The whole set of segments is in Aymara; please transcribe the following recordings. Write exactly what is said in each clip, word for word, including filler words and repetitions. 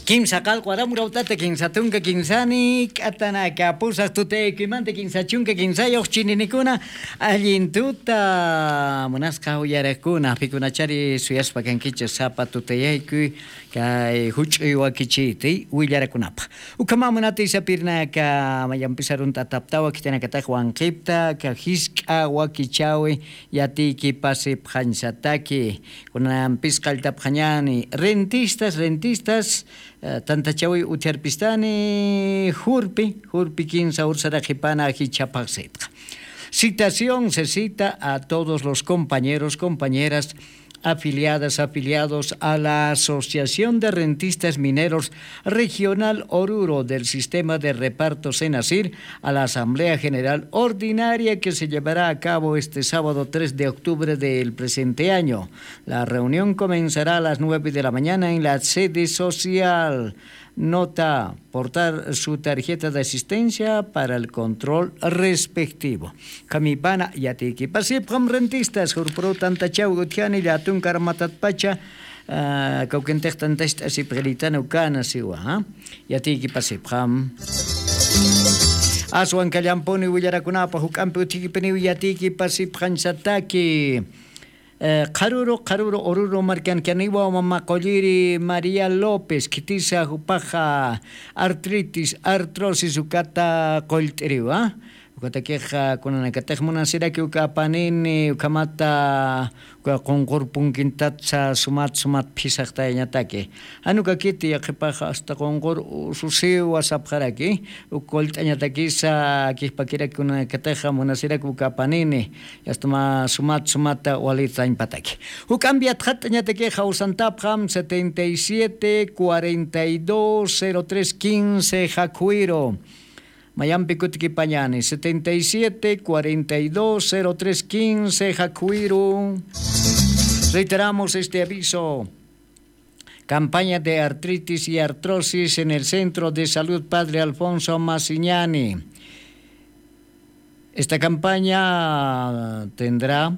Kimsa qallqu aram urawtata, kimsa tunka, kimsani k'atanaka, pusaq tutaykuymanta kimsa chunka, kimsayuq chininikuna, allin tuta munasqa uyariqkuna, pikunachari suyaspa kankichis sapa tutayaykuy kay juch'uy wakichiti willarakunapaq. Ukhamä munatay sapirnaka, mayampis arunt'ataptawa khitinakataq wanqipta, ka jisk'a wakichäwi yatiykipasipxañsataki. Kunampis qalltapxañäni, rentistas, rentistas, eh, tantachäwi utjarpistani, jurpi, jurpi kinsa ursaraqipana jichha phaxsitxa. Citación se cita a todos los compañeros, compañeras afiliadas, afiliados a la Asociación de Rentistas Mineros Regional Oruro del Sistema de Reparto Senasir, a la Asamblea General Ordinaria que se llevará a cabo este sábado tres de octubre del presente año. La reunión comenzará a las nueve de la mañana en la sede social. Nota, portar su tarjeta de asistencia para el control respectivo. Kami pana, yatiykipasipxam rentistas, jurpuru tantachaw utjani, llätun karmatatpacha, ah, kawkintix tantacht'asipxiritan ukana siwa, ¿ah? Yatiykipasipxam. Aswan kallampuni willarakunapa juk'ampi utjikipiniw yatiykipasipxañsataki. Eh, qharuru, qharuru, Oruro markankaniwa mama qulliri María López, khitisa jupaxa artritis, artrosis ukata qullt'iriwa. Ukatakixa kunanakatix munasiraki uka apanini, ukhamata uka qunqur punkintatsa sumat, sumat phisaqtayañataki. Jan ukakiti yaqhipaxa hasta qunqur ususiwa sapxaraki, uk qullt'añatakisa kijpakiraki kunanakatixa munasiraki uka apanini, yasta mä sumat sumata walitañpataki. Juk'ampi yatxatt'añataki jawsantapxam setenta y siete, cuarenta y dos, cero tres, quince, jakhwiru. Mayampi kutikipañani, setenta y siete, cuarenta y dos, cero tres, quince, jakhwiru. Reiteramos este aviso. Campaña de artritis y artrosis en el Centro de Salud Padre Alfonso Massignani. Esta campaña tendrá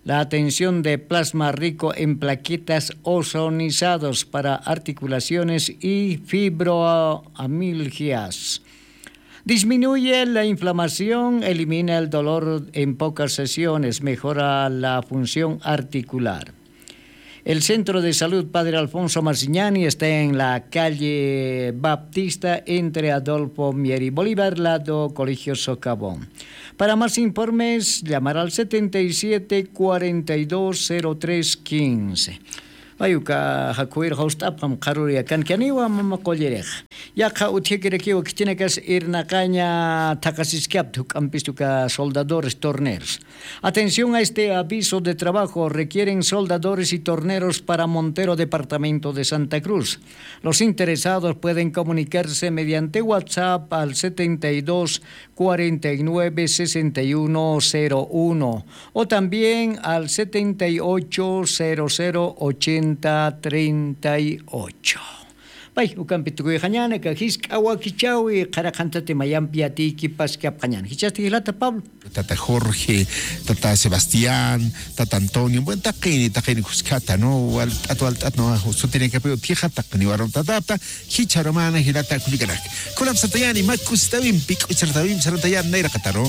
la atención de plasma rico en plaquetas ozonizados para articulaciones y fibromialgias. Disminuye la inflamación, elimina el dolor en pocas sesiones, mejora la función articular. El Centro de Salud Padre Alfonso Marsiñani está en la calle Baptista, entre Adolfo Mier y Bolívar, lado Colegio Socavón. Para más informes, llamar al setenta y siete, cuarenta y dos, cero tres, quince. Ay, uka jakhwir jawst'apxam, qharuri akankaniwa mama qullirix. Yaqha utjikirakiwa khitinakas irnaqaña thaqasiskapta, juk'ampis uka soldadores, torneros. Atención a este aviso de trabajo. Requieren soldadores y torneros para Montero, departamento de Santa Cruz. Los interesados pueden comunicarse mediante WhatsApp al setenta y dos, cuarenta y nueve, sesenta y uno, cero uno o también al setenta y ocho, cero cero, ochenta, treinta y ocho. Pay, ukampi tukuyxañäni, aka jisk'a wakichäwi, qhara qhantati mayampi yatiykipaskapxañäni. Jichhasti jilata Pablo. Tata Jorge, tata Sebastián, tata Antonio, bueno, taqini, taqini kuskata, ¿no? Walt'at, walt'at, ¿no? Sutinakapi utjixa, taqini warum tatapta, jichha arumana, jilata kullikanak. Kunapsatayani, mä kusitawimpi, k'uchartawimpi, sarantayani, nayraqataru.